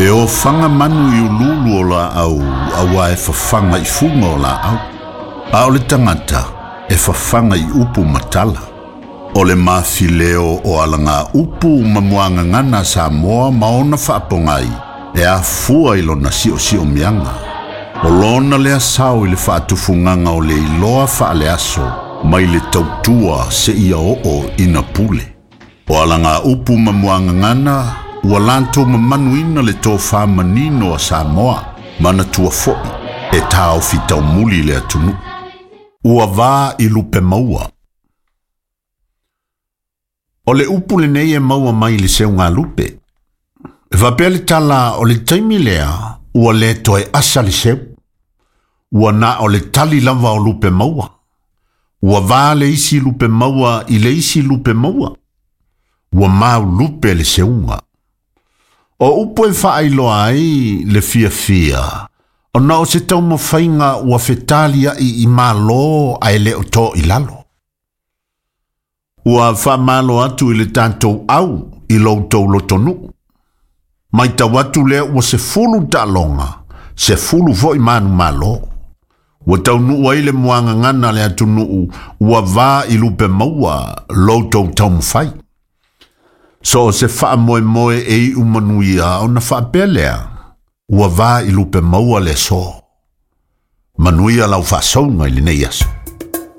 E ofaga manu i uluulu o laau auā e fafaga i fuga o laau, a o le tagata e fafaga i upu ma tala. O le mafileo o alagaupu ma muagagana a Samoa ma ona faapogai e afua i lona siosiomiaga. O lona lea sao i le faatufugaga o le iloa faaleaso mai le tautua seia oo ina pule. O alagaupu ma muagagana ua latou mamanuina le tofā manino a Samoa, manatua foi e taofi taumuli le atunuu. Ua va i lupe maua. O le upu lenei e maua mai le seugalupe. E faapea le tala o le taimi lea ua le toe asa le seu. Ua na o le tali lava o lupe maua. Ua va le isi lupe maua i le isi lupe maua. Ua maulupe le seuga. O upu e faailoa ai le fiafia, ona o se taumafaiga ua fetaliai i malo ae le o to i lalo. Ua faamalo atu i le tatou au i lo outou lotonuu. Matau atu lea ua 10 taaloga, 10 foi manumalo. Ua taunuu ai le muagagana a le atunuu ua va i lupe maua lo outou taumafai. So o se faamoemoe e iu manuia ona faapea lea, ua va i lupe maua le aso. Manuia lau faasauga i lenei aso.